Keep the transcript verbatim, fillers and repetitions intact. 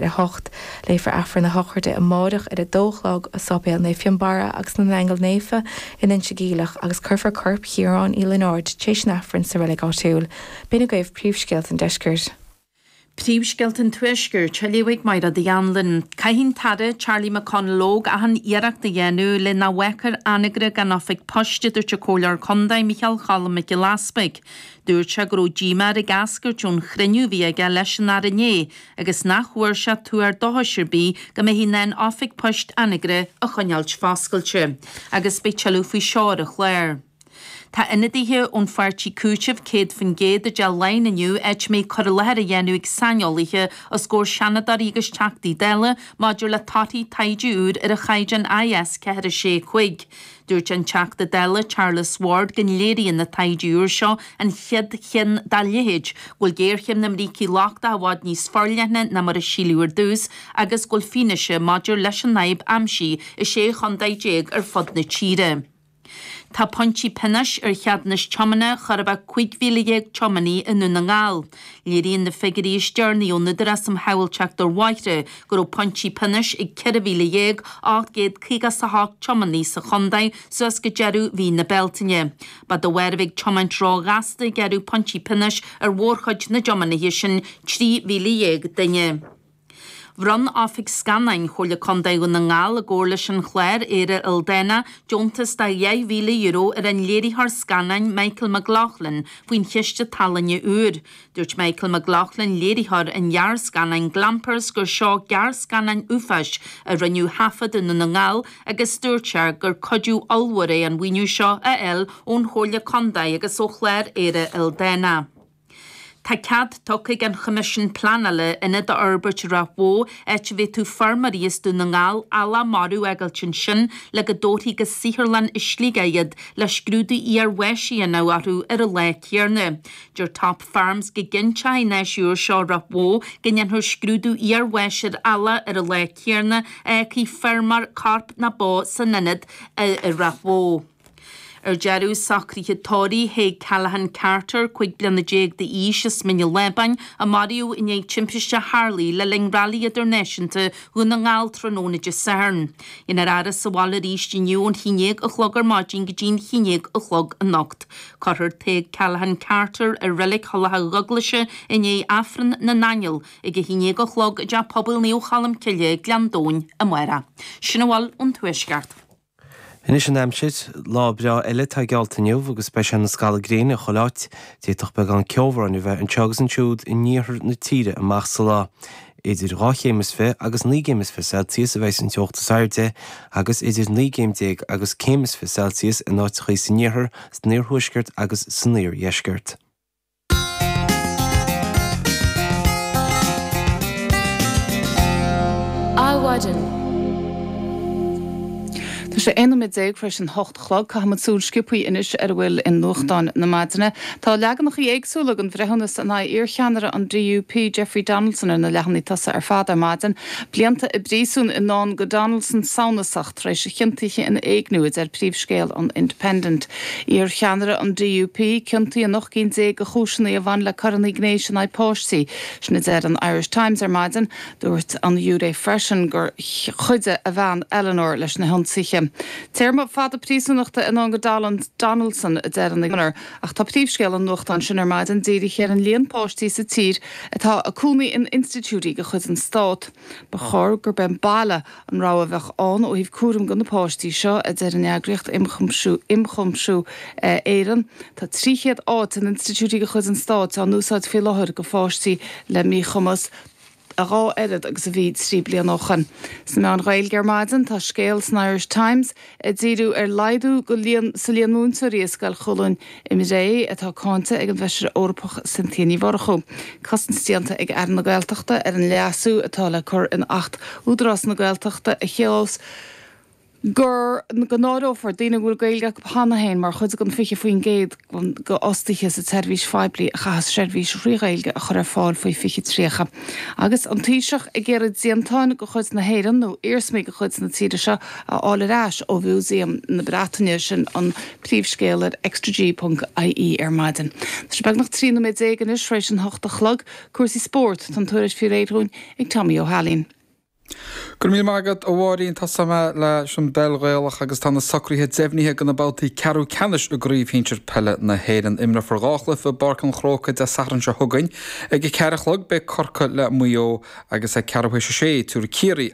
ar a hocht. Léifear Aifreann na sochraide amárach ar a dó a chlog i Séipéal Naomh Fionnbarra agus na nAingeal Naofa in Inse Geimhleach agus cuirfear corp Chiaráin Uí Lionáird tar éis an Aifrinn sa reilig áitiúil. B'in agaibh príomhscéalta an deiscirt. Príomhscéalta an Tuaiscirt, á léamh ag Máire Uí Anluain. Caithfidh an tAire Charlie McConalogue achan iarracht a dhéanamh le nach bhfágfar Anagaire gan oifig poist a dúirt an Comhairleoir Contae Micheál Cholm Mac Giolla Easpaig. Dúirt sé go raibh díomá air ag eascairt ón chruinniú a bhí aige leis an Aire inné agus nach bhfuair sé tuar dóchais ar bith go mbeifí in ann oifig poist Anagaire a choinneáilt foscailte. Agus beidh tuilleadh faoi seo ar an chlár. Tá ionadaithe ón pháirtí Cúiteamh céad faoin gcéad i dTeach Laighean inniu áit a mbeidh cur i láthair á dhéanamh ag saineolaithe os comhair seanadóirí agus teachtaí Dála maidir le torthaí taighde úr ar an chaighdeán I S ceathair sé cúig. Dúirt an Teachta Dála Charles Ward go léiríonn na taighde úr seo an chéad cheann dá leithéid, go bhfuil géarchéim na mbrící lochtacha i bhfad níos forleithne ná mar a síleadh ar dtús agus go bhfuil fianaise maidir leis an fhadhb aimsithe i sé chontae déag ar fud na tíre. Tá pointí pionóis ar cheadúnas tiomána chóir a bheith cúig mhíle dhéag tiománaí i nDún na nGall. Léiríonn na figiúirí is deireanaí ón Údarás um Shábháilteacht ar Bhóithre go raibh pointí pionóis ag ceithre mhíle dhéag ocht gcéad caoga a hocht tiománaí sa chontae suas go deireadh mhí na Bealtaine. Ba de bharr a bheith ag tiomáint róghasta a gearradh pointí pionóis ar mhórchuid na dtiománaithe sin trí mhíle dhéag duine. Bhronn Oifig Scannáin Chomhairle Contae Dhún na nGall i gcomhar leis an chlár Éire Ildánach deontas de dheich mhíle euro ar an léiritheoir scannáin Michael McLaughlin faoin chiste tallainne úr. Dúirt Michael McLaughlin léiritheoir an ghearrscannáin Glampers gur seo gearrscannán uafáis a rinneadh taifead i nDún na nGall agus dúirt sé gur cuidiú ollmhór é an maoiniú seo a fháil ón Chomhairle Contae agus ó chlár Éire Ildánach. Tá cead tugtha ag an Choimisiún Pleanála ionad a fhorbairt i Ráth Bhoth áit a bhféadfadh feirmeoirí as Dún na nGall eallach marbh a fhágáilt ansin le go dtabharfaí go saotharlann i Sligeach iad le scrúdú iarbháis a dhéanamh orthu ar an lá céanna. Deir Top Farms go gcinnteoidh an áis úr seo Ráth Bhoth go ndéanfar scrúdú iarbháis ar eallach ar an lá céanna a fhágfaidh feirmeoir corp na bó san ionad i Ráth Bhoth. Ar deireadh socruithe tórraimh Thaidhg Callahan Carter cúig bliana déag d'aois as Mín an Lábáin a maraíodh i ndiaidh timpiste a tharlaigh le linn Railí Idirnáisiúnta Dhún na nGall tráthnóna Dé Sathairn. Déanfar a fhaire sa bhaile arís inniu ón haon déag a chlog ar maidin go dtí an haon déag a chlog anocht. Cuirfear Tadhg Callahan Carter i reilig Thulach Dhubhghlaise i ndiaidh Aifreann na nAingeal ag a haon déag a chlog i dTeach Pobail Naomh Cholm Cille Gleann Domhain amárach. Sin a bhfuil ón Tuaisceart. Anois an aimsir, lá breá eile atá geallta inniu agus beidh sé ina scalladh gréine chuile áit. D'fhéadfadh beagán ceobhráin a bheith anseo agus ansiúd in iarthar na tíre amach sa lá. Idir dhá chéim is fiche agus naoi gcéim is fiche Celsius a bheidh an teocht is airde agus idir naoi gcéim déag agus céim is fiche Celsius in áiteacha san iarthar, san iarthuaisceart agus san iardheisceart. Adhmhaidin. Tá sé aon nóiméad déag tar éis an hocht a chlog. Caithfimid súil sciobtha anois ar a bhfuil i nuachtáin na maidine. Tá leaganacha éagsúla den bhreithiúnas in aghaidh iarcheannaire an D U P Jeffrey Donaldson ar na leathanaigh tosaigh ar fad ar maidin. Blianta i bpríosún i ndán go Donaldson samhnasach tar éis a chiontaithe in éigniú, a deir príomhscéal an Independent. Iarcheannaire an D U P ciontaithe in ocht gcinn déag de chúiseanna a bhain le coireanna gnéis in aghaidh páistí. Sin a deir an Irish Times ar maidin. Dúirt an ghiúiré freisin gur chuidigh a bhean Eleanor leis na hionsaithe. Téarma fada príosúnachta i ndán go Donaldson, a deir an Examiner, ach tá príomhscéal an nuachtáin sin ar maidin dírithe ar an líon páistí sa tír atá ag cónaí in institiúidí de chuid an Stát. Ba chóir gurb é an baile an rogha a bheadh ann ó thaobh cúram do na páistí seo, a deir an eagraíocht Ionchuimsiú Ionchuimsiú Éireann. Tá trí chéad áit in institiúidí de chuid an Stáit á n-úsáid faoi láthair do pháistí le míchumas, a dhá oiread agus a bhí trí bliana ó shin. Sna meáin Ghaeilge ar maidin tá scéal san Irish Times ag díriú ar laghdú go líon sa líon múinteoirí i Scoil Chualann i mBré atá cáinte ag an bhFeisire Eorpach Cynthia Ní Mhurchú. Cosaint déanta ag Aire na Gaeltachta ar an leasú atá le cur in Acht Údarás na Gaeltachta a chealós gur go n-áireofar daoine a bhfuil Gaeilge acu cheana féin mar chuid den fiche faoin gcéad d'fhostaithe sa tseirbhís phoiblí a chaithfeas seirbhís thrí Ghaeilge a chur ar fáil faoi fiche tríocha. Agus an Taoiseach ag iarraidh déantáin de chuid na hÉireann nó iarsmaí de chuid na tíre seo a fháil ar ais ó Mhúsaem na Breataine, sin an príomhscéal ar extraG ponc ie ar maidin. Tá sé beagnach trí nóiméad déag anois tar éis an hocht a chlog. Cúrsaí spóirt, tá an tuairisc faoi réir dúinn ag Tommy Ó hAilín. Go raibh míle maith agat a Mháirín. Tosóidh mé leis an bpeil Ghaelach agus tá na socruithe deimhnithe do na babhtaí ceathrú ceannais i gCraobh Shinsir Peile na hÉireann. Imreofar dhá chluiche i bPáirc an Chrócaigh Dé Sathairn seo chugainn. Ag a ceathair a chlog beidh Corcaigh le Maigh Eo agus ag ceathrú théis a sé tabharfaidh Ciarraí